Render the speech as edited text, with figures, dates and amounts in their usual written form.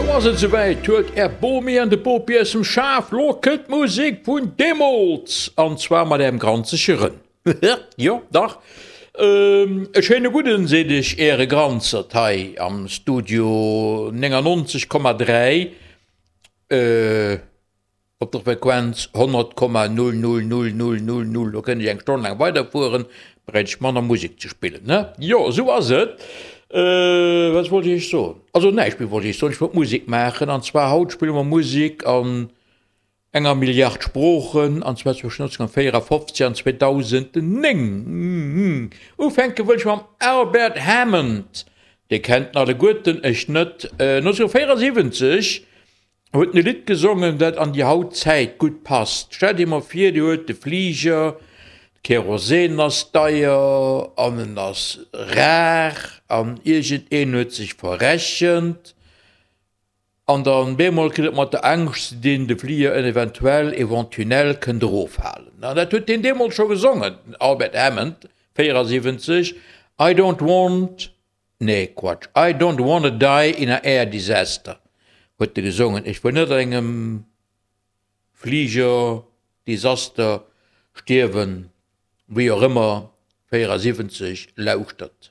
Lo ass et souwäit, huelt är Bomi an de Bopi aus dem Schaf, lo kënnt d'Musek vun deemools! An zwar mat ärem granzege Rënn. Jo, dach, e schéine gudden, seet ech äre Granzert hei am Studio 99,3. Op der Frequenz 100,00000, do kënnt ech eng Stonn laang weiderfueren, bräicht ech manner Musek ze spillen, ne? Jo, esou ass et. Wat wollt ech iech soen? Also näischt méi wollt ech iech soen, ech wollt Musek maachen. An zwar haut spille mer Musek an enger Milliard Sproochen, an zwar zwëschen 1954 an 2009. Ufänke wëll ech mam Albert Hammond, Dir kennt en alleguerten, ech net. 1974 huet en e Lidd gesongen, dat an déi haut Zäit gutt passt. Stellt Iech mol vir, Dir huet de Fliger, de Kerosin ass deier an en ass rar an iergendeen huet sech verrechent an dann bemol kritt et mat der Angscht ze dinn, de Fliger en eventuell éventunell kënnt eroffalen. An dat huet deen deemools scho gesongen, den Albert Hammond, 74, I don't want Nee, Quatsch, I don't wanna die in a air disaster huet e gesongen. Ech wëll net an engem Fliger-Desaster stierwen, wéi och ëmmer. 74, lauschtert.